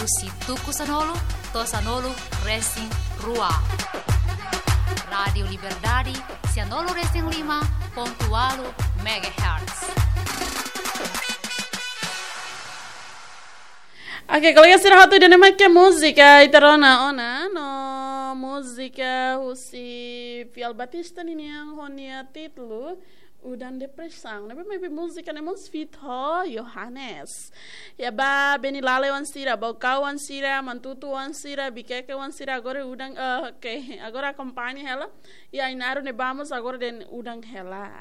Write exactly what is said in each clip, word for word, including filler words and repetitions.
Husi tuku sanulu to'o sanulu resin rua. Rádiu Liberdade, sanulu resin lima pontu ualu megahertz. Oke, kolega sira hotu, ida-ne'e mak múzika ita rona ona, no múzika husi Fiel Batista ninian ho nia títulu Udan Depresaun. Ne'ebé maibé múzika ne'e mós feat ho Johannes. Ya ba Beni Lale oan sira, Baucau oan sira, Manatuto oan sira, Viqueque oan sira, agora udan, eh, oke, agora akompaña hela. Ya, Ainaro ne'ebá mós agora dehan udan hela.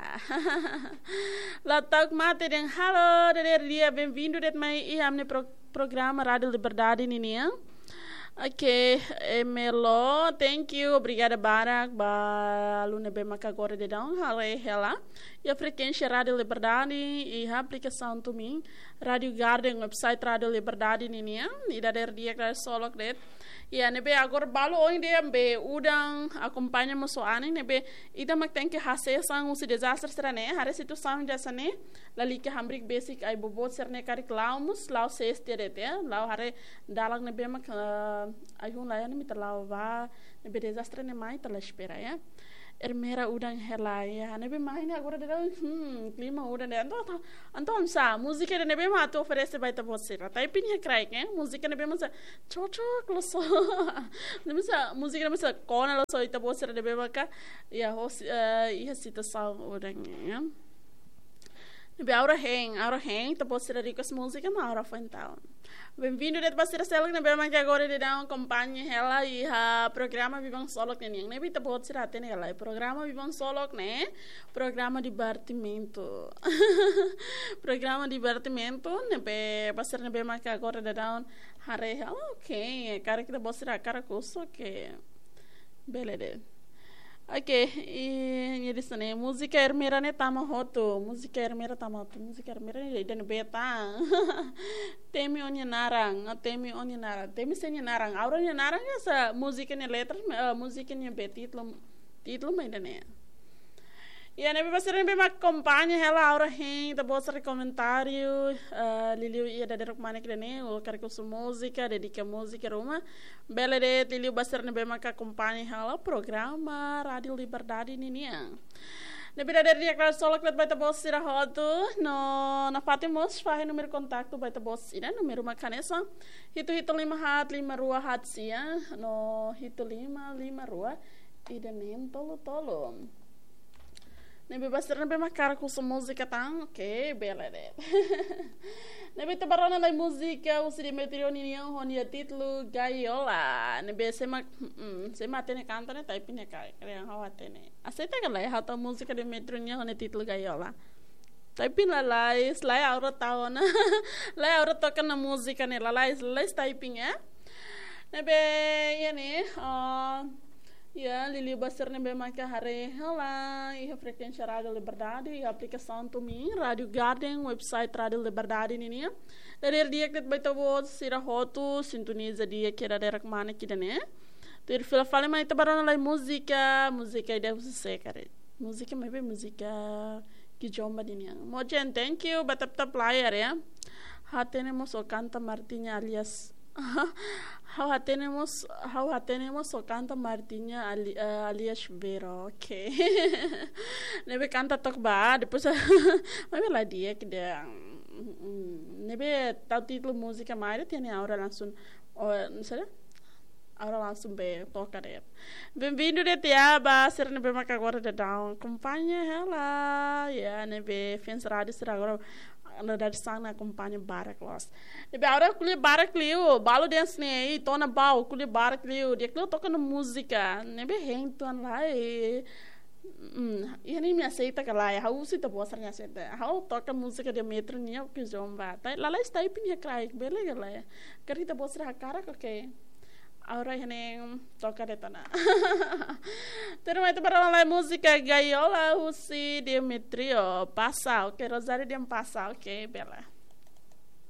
La Tauk Mate dehan halo, dadeer di'ak, bem-vindo de'it mai iha ami-nia pro-, programa Rádiu Liberdade ninian. Oke, Emelo, thank you, obrigada barak ba aluna ne'ebé maka agora daudaun haree hela iha frekuénsia Rádiu Liberdade, iha aplikasaun TuneIn, Rádiu Garden, website Rádiu Liberdade ninian, ida dadeer di'ak, dadeer solok de'it. Ya, ne'ebé agora balu ohin dehan be udan, akompaña mós ho anin, ne'ebé ita mak tenke hasees an husi dezastre sira-ne'e, haree situasaun hanesan ne'e, lalika hamriik besik ai-boboot sira-ne'e karik la'o mós, la'o sees tiha de'it, la'o haree dalan ne'ebé mak, eh, ai-hun laiha ne'e mak ita la'o bá, ne'ebé dezastre ne'e mai ita la espera, ya. Ermera udan hela, ya. Ne'ebé mai ne'e agora daudaun, hmm, klima udan de'it. Entaun, entaun, entaun sá, múzika ida-ne'ebé mak atu oferese ba ita-boot sira. Taipin iha kraik, eh? Múzika ne'ebé mak sá cocok loos. Ne'ebé sá, múzika ne'ebé sá kona loos ita-boot sira ne'ebé maka, ya, ho si-, eh, iha situasaun udan, ya. Ne'ebé Aura hein, Aura hein, ita-boot sira request múzika, no Aura foin tau. Bem-vindo de'it ba sira seluk ne'ebé maka agora daudaun akompaña hela iha programa Biban Solok ninian. Ne'ebé ita-boot sira hatene hela, programa Biban Solok ne'e programa divertimentu. Programa divertimentu, ne'ebé ba sira ne'ebé maka agora daudaun haree hela, oke, karik ita-boot sira hakarak husu, oke. Bele de'it. Oke, i, nia dehan hanesan ne'e, múzika Ermera ne'e tama hotu, múzika Ermera tama hotu, múzika Ermera ne'e ida-ne'ebé tan. Temi Ó-nia Naran, Temi Ó-nia Naran, Temi sé nia naran, Aura nia naran ka sá múzika nia letra, eh, múzika nia be títulu, títulu mak ida-ne'e. Ya, ne'ebé ba sira ne'ebé mak akompaña hela Aura hein, ita-boot sira komentáriu, eh, liuliu iha dadeer ruma ne'e ida-ne'e, ó karik husu múzika, dedika múzika ruma, bele de'it, liuliu ba sira ne'ebé maka akompaña hela programa Rádiu Liberdade ninian. Ne'ebé dadeer di'ak, dadeer solok de'it ba ita-boot sira hotu, no nafatin mós fahe númeru kontaktu ba ita-boot sira, númeru mak hanesan hitu hitu lima haat lima rua haat sia, no hitu lima lima rua ida neen tolu tolu. Ne'ebé ba sira ne'ebé mak hakarak husu múzika tan, oke, bele de'it. Ne'ebé ita bá rona lai múzika husi Demetrio ninian ho nia títulu Gaiola. Ne'ebé sé mak, mm, sé mak hatene kanta ne'e, taipin iha kraik, karik ha'u hatene. Aseita ka lae, ha'u tau múzika Demetrio nian ho nia títulu Gaiola? Taipin lalais, lae Aura tau ona. Lae Aura toka ona múzika ne'e, lalais, lalais taipin, eh? Ne'ebé, ya ne'e, ah, ya, liuliu ba sira ne'ebé maka haree hela iha frekuénsia Rádiu Liberdade, iha aplikasaun TuneIn, Rádiu Garden, website Rádiu Liberdade ninian. Dadeer di'ak de'it ba ita-boot sira hotu, sintoniza di'ak iha dadeer ruma ne'e ida-ne'e. Tuir fila fali mai ita bá rona lai múzika, múzika ida husi sé karik? Múzika maibé múzika Kizomba ninian. Mojen, thank you ba tap-tap layar ya. Hatene mós ó kanta Martinha alias. Ha'u hatene mós, ha'u hatene mós ó kanta Martinha ali-, eh, alias Vero, oke. Ne'ebé kanta took bá, depois, maibé la di'ak ida. Mm, ne'ebé tau títulu múzika mai, ida tiha ne'e Aura langsung, oh, não sei, Aura langsung be toka de'it. Bem-vindo de'it ya ba sira ne'ebé maka agora daudaun akompaña hela. Ya, ne'ebé fans rádiu sira agora daudaun sira akompaña barak loos. Ne'ebé Aura ko'alia barak liu, balu dehan hanesan ne'e, ita ona bau, ko'alia barak liu, di'ak liu toka ona múzika. Ne'ebé hein tuan lai. Hmm, iha ne'e imi aseita ka lae, ha'u husu ita-boot sira-nia aseita. Ha'u toka múzika Demetrio nian ho Kizomba. Lalais taipin iha kraik, bele ka lae? Karik ita-boot sira hakarak, oke. Aura iha ne'e toka de'it ona. Tuirmai ita bá rona lai múzika Gaiola husi Demetrio. Pasa, oke, Rosário dehan pasa, oke, bele.